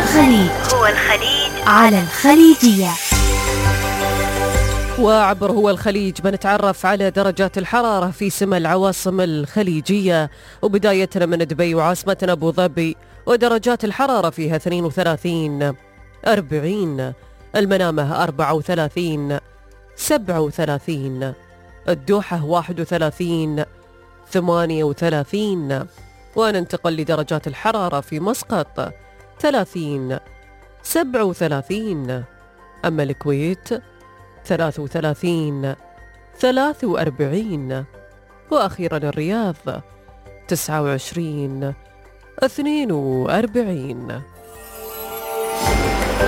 الخليج على الخليجية. وعبر هو الخليج بنتعرف على درجات الحرارة في سما العواصم الخليجية، وبدايتنا من دبي وعاصمتنا أبو ظبي، ودرجات الحرارة فيها 32 40، المنامة 34 37، الدوحة 31 38، وننتقل لدرجات الحرارة في مسقط 30 37، أما الكويت 33 43، وأخيرا الرياض 29 42.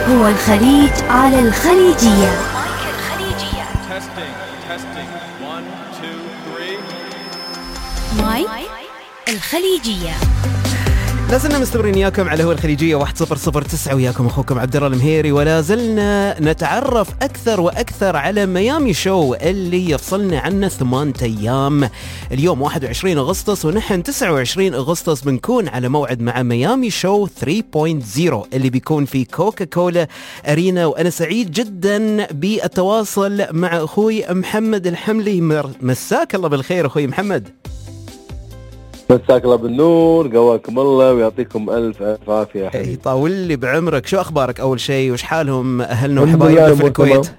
هو الخليج على الخليجية. مايك الخليجية. لازلنا مستمرين وياكم على هو الخليجية 1009، وياكم أخوكم عبد الله المهيري، ولا زلنا نتعرف أكثر وأكثر على ميامي شو اللي يفصلنا عنه 8 أيام. اليوم 21 أغسطس ونحن 29 أغسطس بنكون على موعد مع ميامي شو 3.0 اللي بيكون في كوكا كولا أرينا، وأنا سعيد جدا بالتواصل مع أخوي محمد الحملي. مساك الله بالخير أخوي محمد. مساك الله بالنور، قواكم الله ويعطيكم ألف عافية يا حبيبي. يطول لي بعمرك. شو أخبارك أول شيء، وش حالهم أهلنا وحبايبنا في الكويت؟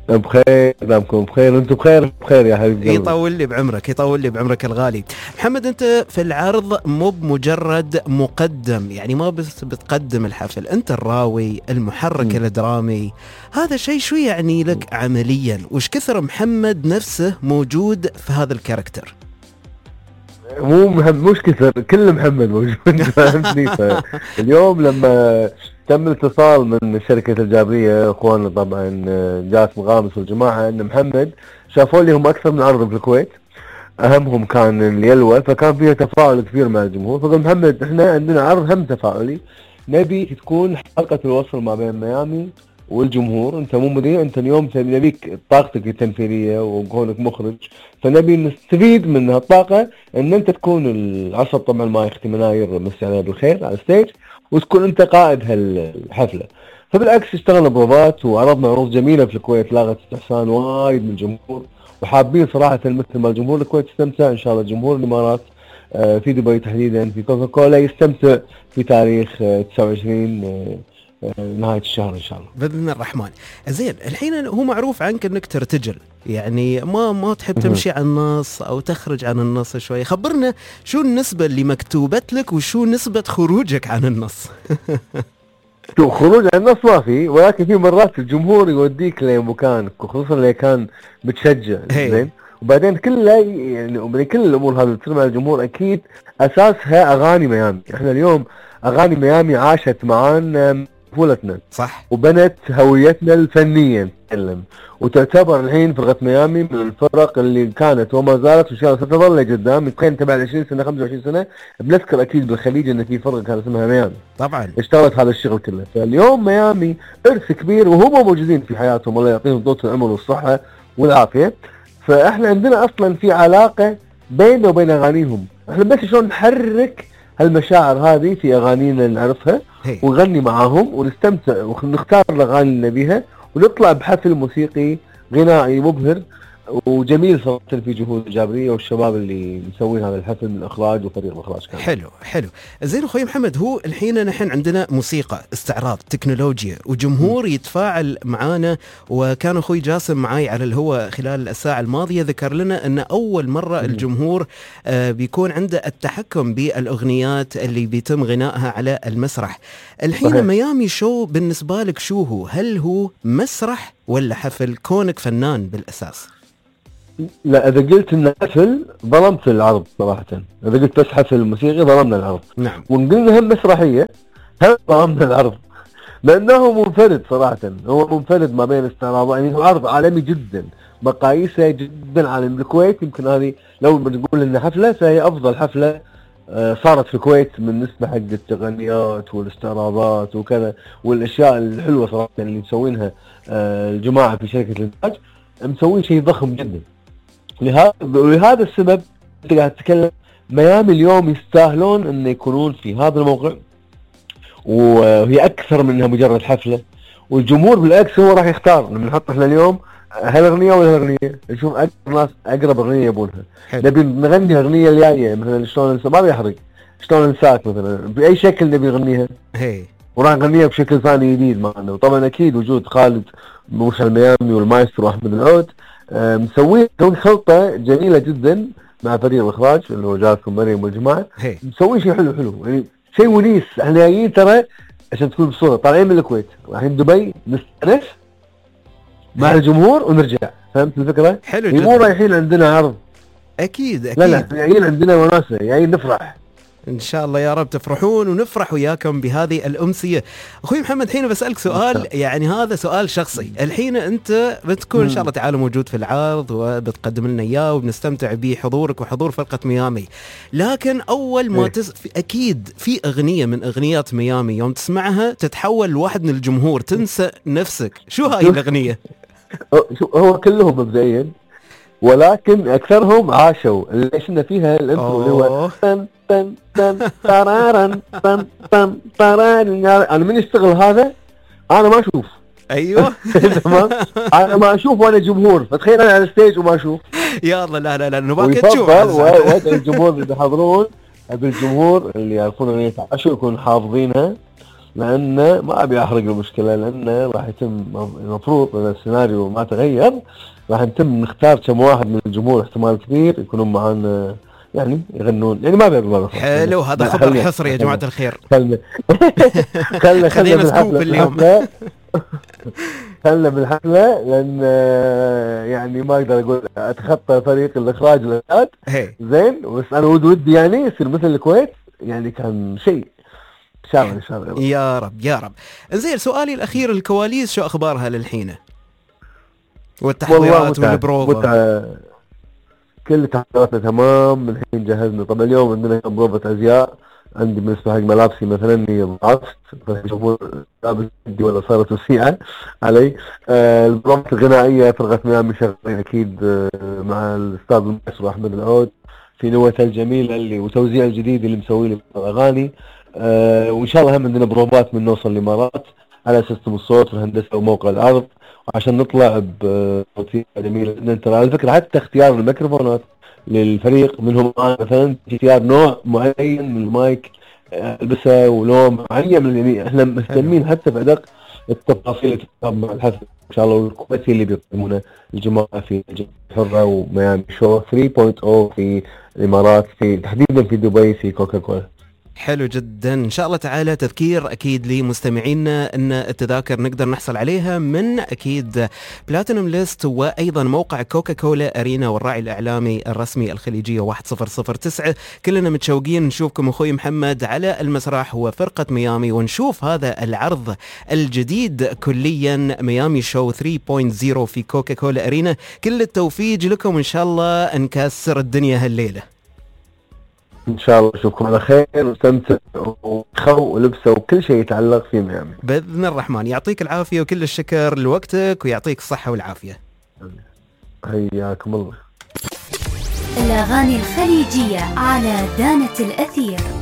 بخير، دامكم بخير وانتم بخير يا حبيبي. يطول لي بعمرك، يطول لي بعمرك الغالي. محمد، أنت في العرض مو بمجرد مقدم، يعني ما بس بتقدم الحفل، أنت الراوي المحرك الدرامي. هذا شيء شو يعني لك عمليا؟ وش كثر محمد نفسه موجود في هذا الكاركتر؟ مش كثر، كل محمد موجود فهمتني. اليوم لما تم الاتصال من شركة الجابرية اخواننا طبعا جاسم غامس والجماعة ان محمد شافوا لي هم اكثر من عرض في الكويت، اهمهم كان اليلوى، فكان فيها تفاعل كبير مع الجمهور. فقال محمد احنا عندنا عرض هم تفاعلي، نبي تكون حلقة الوصل ما بين ميامي والجمهور. انت مو مذيع، انت اليوم نبيك طاقتك التمثيليه وكونك مخرج، فنبي نستفيد من هالطاقه ان انت تكون العصب طبعا ما يختم مناير مسي عليها بالخير على الستيج، وتكون انت قائد هالحفله. فبالعكس اشتغلنا بروفات وعرضنا عروض جميله في الكويت، لاغت استحسان وايد من الجمهور، وحابين صراحه مثل ما الجمهور الكويت يستمتع، ان شاء الله جمهور الامارات في دبي تحديدا في كوكا كولا يستمتع في تاريخ 29 نهاية الشهر إن شاء الله بإذن الرحمن. زين، الحين هو معروف عنك أنك ترتجل، يعني ما تحب تمشي عن النص أو تخرج عن النص شوي. خبرنا شو النسبة اللي مكتوبت لك وشو نسبة خروجك عن النص؟ شو خروج عن النص ما في، ولكن في مرات الجمهور يوديك لمكانك، وخصوصا اللي كان بتشجع. زين، وبعدين كلها يعني كل الأمور هذه تصير مع الجمهور أكيد أساسها أغاني ميامي. إحنا اليوم أغاني ميامي عاشت معانا طفولتنا، صح، وبنت هويتنا الفنية نتكلم، وتعتبر الحين فرقة ميامي من الفرق اللي كانت وما زالت وإن شاء الله ستظل لقدام. يمكن تبع 20 سنة 25 سنة بنذكر أكيد بالخليج إن في فرقة كانت اسمها ميامي طبعا اشتغلت هذا الشغل كله. فاليوم ميامي إرث كبير وهم موجودين في حياتهم، الله يعطيهم طول العمر والصحة والعافية. فإحنا عندنا أصلا في علاقة بيننا وبين أغانيهم، إحنا بس شلون نحرك هالمشاعر هذه في أغانينا نعرفها ونغني معاهم ونستمتع ونختار الأغاني اللي نبيها، ونطلع بحفل موسيقي غنائي مبهر وجميل صراحة في جهود الجابرية والشباب اللي مسوين هذا الحفل من إخراج وفريق الإخراج كان. حلو. زين أخوي محمد، هو الحين نحن عندنا موسيقى، استعراض، تكنولوجيا، وجمهور يتفاعل معانا. وكان أخوي جاسم معاي على الهواء خلال الساعة الماضية ذكر لنا أن أول مرة الجمهور بيكون عنده التحكم بالأغنيات اللي بيتم غنائها على المسرح. الحين صحيح. ميامي شو بالنسبة لك شو هو؟ هل هو مسرح ولا حفل كونك فنان بالأساس؟ لا، إذا قلت إنه حفل ظلمت العرض صراحة. إذا قلت بس حفل موسيقي ظلمنا العرض. نعم. وإن قلنا هم مسرحية هم ظلمنا العرض، لأنه منفرد صراحة. هو منفرد ما بين استعراض، يعني هو عرض عالمي جدا، مقاييسه جدا عالمي. الكويت يمكن هذه لو بنقول إنها حفلة فهي أفضل حفلة صارت في الكويت من نسبة حق التقنيات والاستعراضات وكذا والأشياء الحلوة صراحة اللي مسوينها الجماعة في شركة الإنتاج، مسوين شيء ضخم جدا. ولهذا السبب انت قاعد تتكلم ميامي اليوم يستاهلون ان يكونون في هذا الموقع، وهي اكثر من انها مجرد حفله، والجمهور بالعكس هو راح يختار لما نحط احنا اليوم هالاغنيه ولا هالاغنيه، نشوف اكثر ناس اقرب اغنيه يبونها. نبي نغني الاغنيه الجايه مثلا شلون ما بيحرق، شلون ننساك مثلا باي شكل نبي نغنيها، وراح نغنيها بشكل ثاني جديد معنا. وطبعا اكيد وجود خالد موسى الميامي والمايسترو احمد العود مسوين خلطه جميله جدا مع فريق الاخراج اللي هو جاسم مريم والجماعه، مسوين شيء حلو يعني شيء ونيس. احنا جايين ترى عشان تكون بصوره طالعين من الكويت رايحين دبي نستانس مع الجمهور ونرجع، فهمت الفكره؟ حلو جدا. مو رايحين عندنا عرض، اكيد لا جايين عندنا وناسه، جايين نفرح. ان شاء الله يا رب تفرحون ونفرح وياكم بهذه الامسيه. اخوي محمد الحين بسالك سؤال، يعني هذا سؤال شخصي. الحين انت بتكون ان شاء الله تعالى موجود في العرض وبتقدم لنا اياه وبنستمتع بحضورك وحضور فرقه ميامي، لكن اول ما اكيد في اغنيه من اغنيات ميامي يوم تسمعها تتحول لواحد من الجمهور، تنسى نفسك. شو هاي الاغنيه؟ هو كلهم مبدئيا، ولكن اكثرهم عاشوا اللي عشنا فيها الانترو اللي هو تن تن تن ترارن تن تن ترارن. انا من يشتغل هذا انا ما اشوف. ايوه تمام، انا ما اشوف وانا جمهور، فتخيل انا على الستيج وما اشوف. يلا لا نبغاك تشوف. وادعي الجمهور اللي بيحضرون، ابي الجمهور اللي يعرفون اغنيه عاشوا يكونوا حافظينها، لأنه ما أبي أحرق المشكلة، لأنه راح يتم المفروض أن السيناريو ما تغير، راح نتم نختار كم واحد من الجمهور احتمال كبير يكونون معانا يعني يغنون، يعني ما بيقبل. حلو، هذا خبر حصري يا جماعة الخير. خلنا بالحفلة اليوم. خلنا بالحفلة لأن يعني ما أقدر أقول أتخطى فريق الإخراج والإعداد زين، بس أنا ودي يعني يصير مثل الكويت، يعني كان شيء إن شاء الله يا رب. زين، سؤالي الأخير، الكواليس شو أخبارها للحين؟ والتحضيرات والبروفة؟ كل تحضيراتنا تمام، الحين جهزنا. طبعا اليوم عندنا بروفة أزياء، عندي بالنسبة حق ملابسي مثلا ضعفت، فيشوفون لابس جدي ولا صارت وسيعة علي. البروفة الغنائية فرقة ميامي شغالين أكيد مع الأستاذ المايسترو أحمد العود في نوته الجميلة اللي وتوزيع الجديد اللي مسوي لي الأغاني. وإن شاء الله هم عندنا بروفات من نوصل الإمارات على سيستم الصوت والهندسة وموقع العرض، عشان نطلع بصوتية جميلة جدا. ترى على فكرة حتى اختيار الميكروفونات للفريق منهم مثلا اختيار نوع معين من المايك البسه ولون معين، يعني احنا مهتمين حتى بأدق التفاصيل مع الحفل ان شاء الله. والكويتي اللي بيقدمونه الجماعة في حرة وميامي شو 3.0 في الإمارات، في تحديدا في دبي في كوكا كولا. حلو جدا. إن شاء الله تعالى تذكير أكيد لمستمعينا أن التذاكر نقدر نحصل عليها من أكيد بلاتينوم ليست، وأيضا موقع كوكا كولا أرينا والراعي الإعلامي الرسمي الخليجية 1009. كلنا متشوقين نشوفكم أخوي محمد على المسرح وفرقة ميامي، ونشوف هذا العرض الجديد كليا، ميامي شو 3.0 في كوكا كولا أرينا. كل التوفيق لكم، إن شاء الله نكسر الدنيا هالليلة إن شاء الله. أشوفكم على خير واستمتعوا وخو ولبسوا وكل شيء يتعلق في ميامي بإذن الرحمن. يعطيك العافية وكل الشكر لوقتك، ويعطيك الصحة والعافية. حياكم الله. الأغاني الخليجية على دانة الأثير.